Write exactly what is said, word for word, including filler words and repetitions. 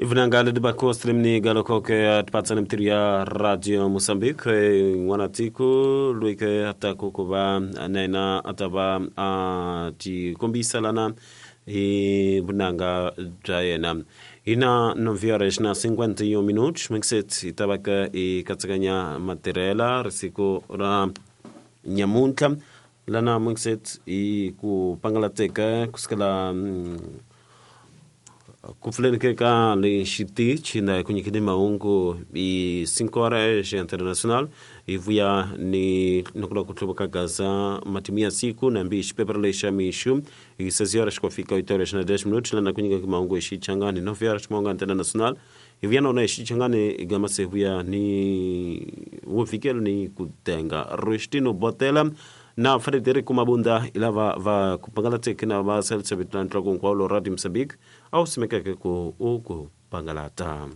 Ivunanga leti bakostrimni galokoke atpatsana mtiru ya Radio Mozambique n'wana tiko loyi ke ataku ku va na yena a ta va a tikombisa lana hi vunanga bya yena. Hi na nove horas na cinquenta e um minutos mixet hi ta va ka hi katsakanya matirhela risiku ra nyamuntlha lana mixet hi ku pangalateka kusukela mm, ku pfuleni ke ka le xitichi na ku nyikeni mahungu hi cinco horas international hi vuya ni ni ku lava ku hluvuka gaza matimu ya siku nambi xipepera lexa mixu hi seis horas ku fika oito horas na dez minutos lana ku nyika mahungu hi xichangani nove horas mahungu international hi vuya na wona hi xichangani gama se vuya ni wo fikela ni ku tenga Rustino Botela na Frederico Mabunda hi lava va ku pangalateke na va salisavitana ntloko hinkwavo Radio Mozambique a wu simekeke ku u ku pangalata.